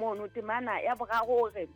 Mono temana ya boraro o re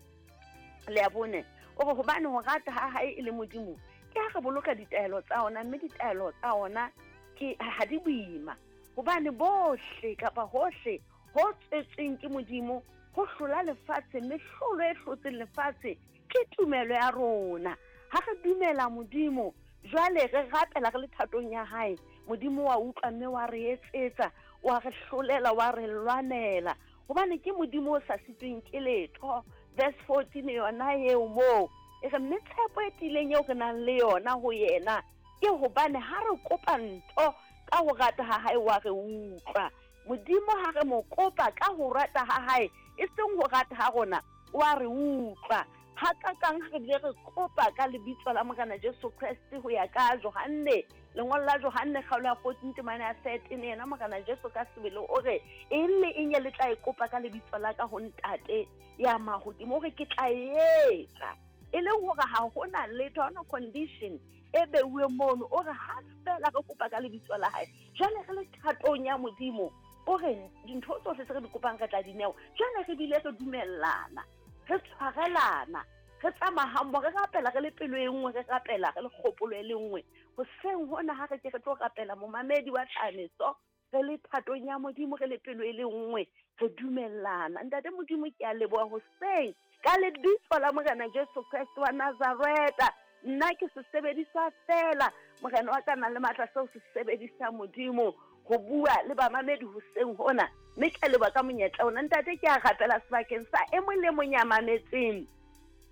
le ya bone o re hobane ho rata ha hae e le Modimo ke ha re boloka ditaelo tsa ona, mme ditaelo tsa ona ke ha di boima, hobane bohle kapa hohle ho tswetsweng ke Modimo ho hlola lefatshe, mme hlolo e hlotseng lefatshe ke tumelo ya rona. Ha re dumela Modimo, jwale re rapela re le thatong ya hae, Modimo wa utlwa mme wa re etsetsa, wa re hlolela, wa re lwanela, hobane ke Modimo o sa sitweng ke letho. Verse 14 yona eo moo e re, mme tshepo e tiileng eo re nang le yona ho yena ke hobane ha re kopa ntho ka ho rata ha hae wa re utlwa. Modimo ha re mo kopa ka ho rata ha hae, e seng ho rata ha rona, wa re utlwa. Hakakang ha re bile re kopa ka lebitso la Morena Jesu Kreste ho ya ka Johanne, lengolo la Johanne kgaolo ya 14 temana ya 13, yena Morena Jesu ka sebele o re, eng le eng e le tla e kopa ka lebitso la ka ho Ntate ya mahodimo, o re ke tla e etsa. E leng hore ha hona letho, ha hona condition e beuweng mono, o re ha fela re kopa ka lebitso la hae, jwale re le thatong ya Modimo, o re dintho tsohle tse re di kopang re tla di newa. Jwale re bile re dumellana, re tshwarelana, re tsamaya hammoho, re rapela re le pelo e nngwe, re rapela re le kgopolo e le nngwe. Hoseng hona ha re ke re tlo rapela momamedi wa tlhameso, re le thatong ya Modimo, re le pelo e le nngwe, re dumellana. Ntate Modimo, ke a leboha hoseng ka lebitso la Morena Jesu Kreste wa Nazareta. Nna ke sesebediswa feela, Morena wa ka nang le matla seo se sebedisa Modimo ho bua le bamamedi hoseng hona, mme ke a leboha ka monyetla ona. Ntate, ke a rapela sebakeng sa e mong le mong ya mametseng,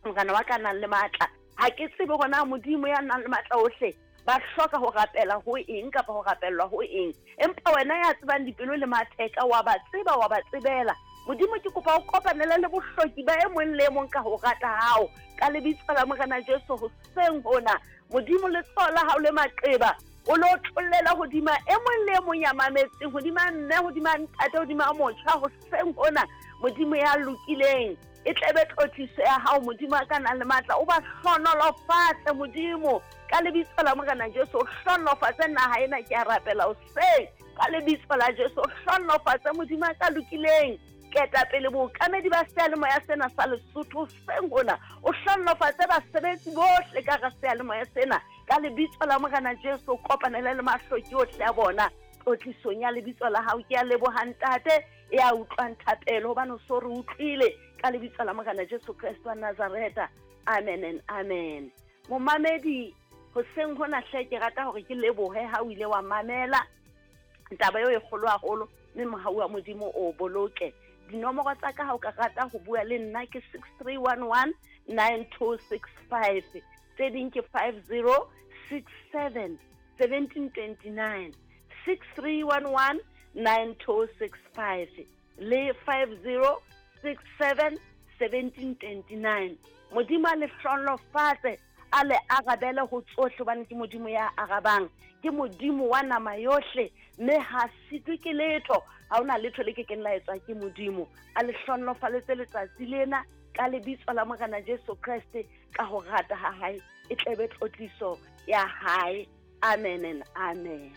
Morena wa ka nang le matla. Ha ke tsebe hore na Modimo ya nang le matla ohle ba hloka ho rapela ho eng kapa ho rapellwa ho eng, empa wena ya tsebang dipelo le matheka wa ba tseba, wa ba tsebela. Modimo, ke kopa o kopanele le bohloki ba e mong le e mong ka ho rata hao, ka lebitso la Morena Jesu hoseng hona. Modimo, letsoho la hao le maqeba o lo tlollela hodima e mong le e mong ya mametseng, hodima mme, hodima ntate, hodima motjha hoseng hona. Modimo ya lokileng, e tlebe tlotliso ya hao, Modimo a ka nang le matla, o ba hlonolofatse Modimo ka lebitso la Morena Jesu. O hlonolofatse naha ena, ke a rapela hoseng ka lebitso la Jesu. O hlonolofatse Modimo a ka lokileng ketapele bookamedi ba seyalemoya sena sa Lesotho hoseng hona. O hlonolofatse basebetsi bohle ka hara seyalemoya sena ka lebitso la Morena Jesu. O kopanele le mahloki ohle a bona tlotlisong ya lebitso la hao. Ke a leboha Ntate ya utlwang thapelo, hobane o so re utlwile ka lebitso la Morena Jesu Kreste wa Nazareta. Amen and amen. Momamedi, hoseng hona hle ke rata hore ke lebohe ha o ile wa mamela taba eo e kgolo haholo, mme mohau wa Modimo o boloke. Dinomoro tsa ka ha o ka rata ho bua le nna ke 6311 9265, tse ding ke 5067 1729, 6311 9265 le 5067 1729. Modimo a le hlonolofatse, a le arabele ho tsohle, hobane ke Modimo ya arabang, ke Modimo wa nama yohle, mme ha sitwe ke letho. Ha hona letho le ke keng la etswa ke Modimo. A le hlonolofaletse letsatsi lena ka lebitso la Morena Jesu Kreste, ka ho rata ha hae e tlebe tlotliso ya hae. Amen and amen.